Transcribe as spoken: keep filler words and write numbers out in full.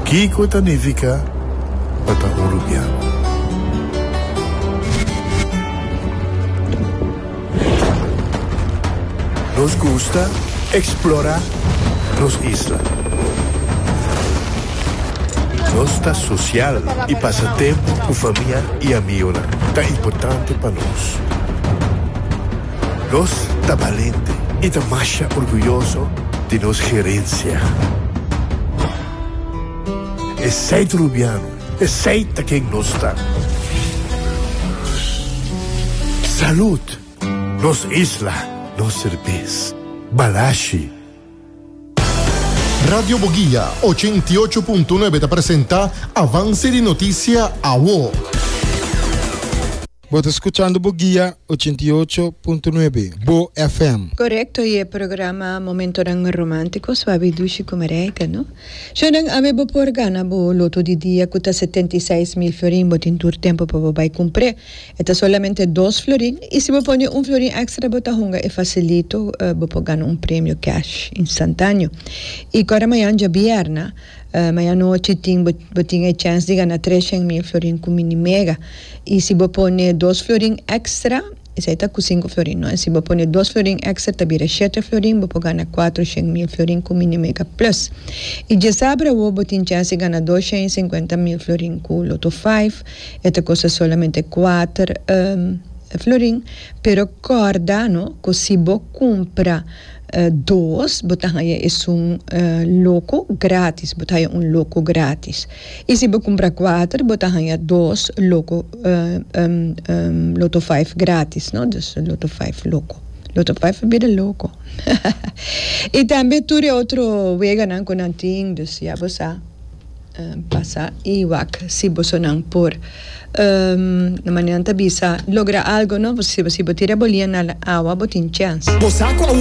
Kiko ta nifiká pa ta un Rubiano? Nos gusta eksplorá nos isla. Nos ta sosial i pasa tempu ku famia i amigunan ta importante pa nos. Nos ta balente i ta masha orguyoso di nos herensia. Esei ta Rubiano, esei ta ken nos ta. Salud, nos isla, nos serbes. Balashi. Radio Boguia ochenta i ocho punto nuebe ta presentá Avance di Notisia Awo. Bo ta skuchando Boguia ochenta i ocho punto nuebe, Bo F M. Korekto, i e programa Momentonan Romántiko, Suave Dushi ku Marijke, no? Shonan, awe bo por gana bo loto di dia ku ta setenta i seis mil florin, bo tin tur tempu pa bo bai kumpr'é. E ta solamente dos florin, i si bo pone un florin èkstra, bo ta hunga e fasilito, uh, bo por gana un premio cash instantáneo. I awor mañan djabièrnè, uh, mañan nochi tin bo, bo tin e chèns di gana treshen mil florin ku Mini Mega. I si bo pone dos florin èkstra, esei ta ku sinku florin, no? I si bo pone dos florin èkstra, ta bira shete florin, bo por gana kuatershen mil florin ku Mini Mega Plus. I djasabra bo tin chèns di gana dosshen sinkuenta mil florin ku Lotto sinku, e ta kosta solamente kuater um, florin, pero kòrda, no, ku si bo kumpra uh, dos, bo ta haña un uh, loko gratis, bo ta haña un loko gratis. I si bo kumpra kuater, bo ta haña dos loko uh, um, um, Lotto sinku gratis, no? Dus Lotto sinku loko. Lotto sinku bira loko. I tambe tur otro weganan ku nan tin, dus ya bo sa uh, pasa i wak si bo nan por um, na manera ta bisa logra algo, no? Si, si bo tira bolia na awa, bo tin chèns. Bo sa